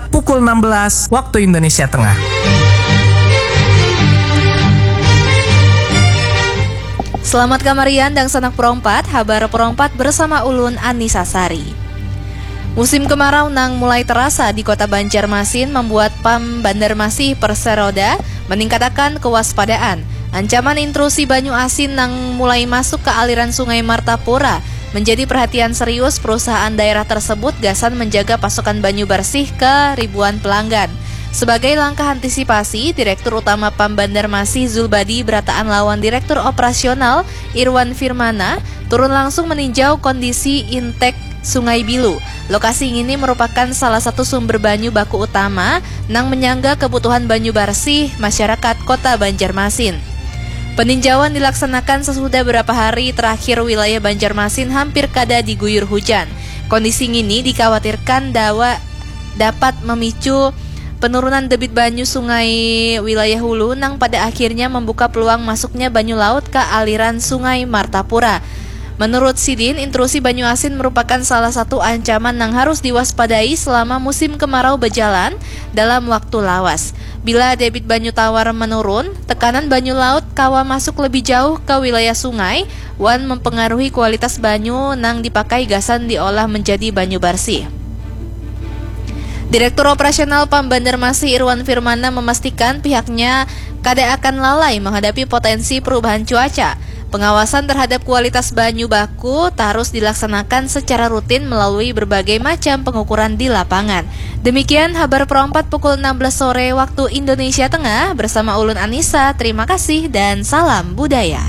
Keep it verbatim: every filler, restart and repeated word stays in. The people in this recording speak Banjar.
pukul enam belas waktu Indonesia Tengah. Selamat kamarian dangsanak perompat, habar perompat bersama ulun Anissa Sari. Musim kemarau nang mulai terasa di Kota Banjarmasin membuat PAM Bandarmasih Perseroda meningkatakan kewaspadaan. Ancaman intrusi banyu asin nang mulai masuk ke aliran Sungai Martapura menjadi perhatian serius perusahaan daerah tersebut gasan menjaga pasokan banyu bersih ke ribuan pelanggan. Sebagai langkah antisipasi, Direktur Utama PAM Bandarmasih Zulbadi berataan lawan Direktur Operasional Irwan Firmana turun langsung meninjau kondisi intek Sungai Bilu. Lokasi ini merupakan salah satu sumber banyu baku utama nang menyangga kebutuhan banyu bersih masyarakat Kota Banjarmasin. Peninjauan dilaksanakan sesudah beberapa hari terakhir wilayah Banjarmasin hampir kada diguyur hujan. Kondisi ini dikhawatirkan dawa dapat memicu penurunan debit banyu sungai wilayah hulu nang pada akhirnya membuka peluang masuknya banyu laut ke aliran Sungai Martapura. Menurut sidin, intrusi banyu asin merupakan salah satu ancaman yang harus diwaspadai selama musim kemarau berjalan dalam waktu lawas. Bila debit banyu tawar menurun, tekanan banyu laut kawa masuk lebih jauh ke wilayah sungai wan mempengaruhi kualitas banyu nang dipakai gasan diolah menjadi banyu bersih. Direktur Operasional PAM Banjarmasin Irwan Firmana memastikan pihaknya kada akan lalai menghadapi potensi perubahan cuaca. Pengawasan terhadap kualitas banyu baku terus dilaksanakan secara rutin melalui berbagai macam pengukuran di lapangan. Demikian habar perompat pukul enam belas sore waktu Indonesia Tengah bersama ulun Anissa. Terima kasih dan salam budaya.